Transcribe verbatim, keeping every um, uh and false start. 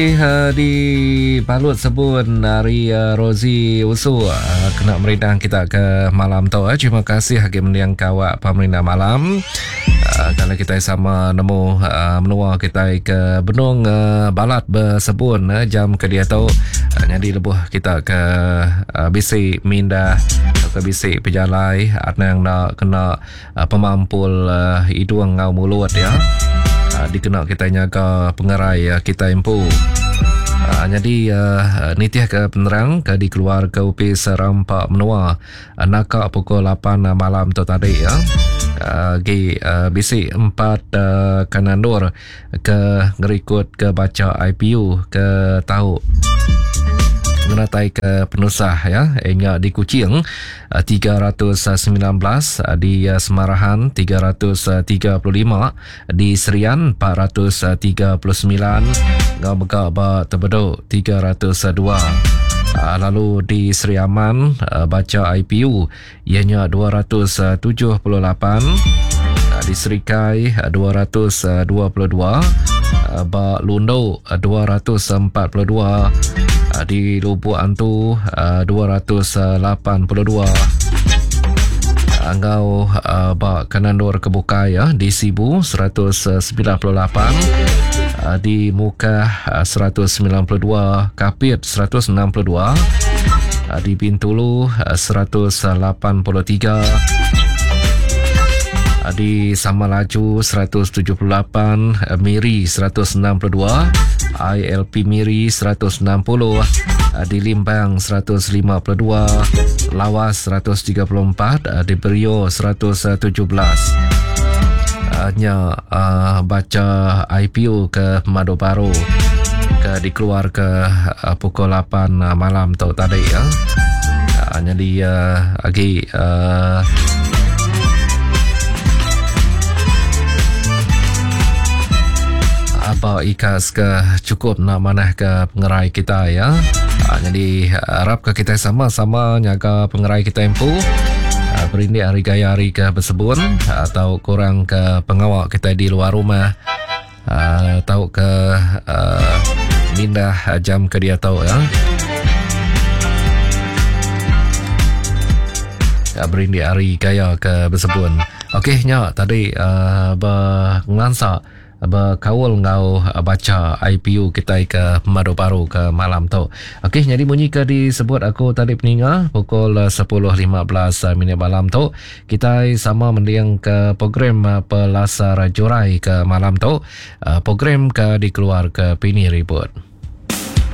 Di balut sebun ari Rosie Usu kena merindang kita ke malam tu. Terima kasih agi mending kawak pemerindang malam. Kalau kita sama nemu menua kita ke benung balat bersebun jam ke dia tu. Jadi lebuh kita ke bisi mindah ke bisi pejalai anang nak kena pemampul hidung ngau mulut ya. Dikena kita nyaga pengerai kita empu. Uh, jadi uh, nitih ke penerang ke dikeluar ke Upis Rampak Menua uh, naka pukul lapan malam tu tadi ya. Uh, gi uh, bisi empat uh, kanandur ke ngerikut ke baca I P U ke tahu mengenai ke penusah ya hingga di Kuching tiga ratus sembilan belas, di Semarahan tiga ratus tiga puluh lima, di Serian empat ratus tiga puluh sembilan, ngau mega ba Tebedu tiga ratus dua. Lalu di Sri Aman baca I P U ianya dua ratus tujuh puluh lapan, di Serikai dua ratus dua puluh dua, ba Lundu dua ratus empat puluh dua, di Lubuk Antu dua ratus lapan puluh dua, ngau ba Kanandur Kebukai ya di Sibu seratus sembilan puluh lapan, di Mukah seratus sembilan puluh dua, Kapit seratus enam puluh dua, di Bintulu seratus lapan puluh tiga, di Samalaju seratus tujuh puluh lapan, Miri seratus enam puluh dua, I L P Miri seratus enam puluh, di Limbang seratus lima puluh dua, Lawas seratus tiga puluh empat, di Berio seratus tujuh belas. Hanya uh, baca I P U ke Madu Baru ke dikeluar ke uh, pukul lapan malam tu tadi ya. Uh, jadi uh, lagi uh, apa ikas ke cukup nak manah ke pengerai kita ya. Ha, jadi harap ke kita sama-sama nyaga pengerai kita empu. Ha, berindik hari gaya hari ke bersebun atau kurang ke pengawak kita di luar rumah atau ke uh, mindah jam ke dia tahu ya. Ha, berindik hari gaya ke bersebun. Okey nya tadi uh, bernglansa berkaul ngau baca I P U kita ke Madu Baru ke malam tu. Okey, jadi bunyi ke disebut aku tadi peninga pukul sepuluh lima belas minit malam tu kita sama mending ke program Pelasar Jurai ke malam tu. Program ke dikeluar ke Pini Ribut.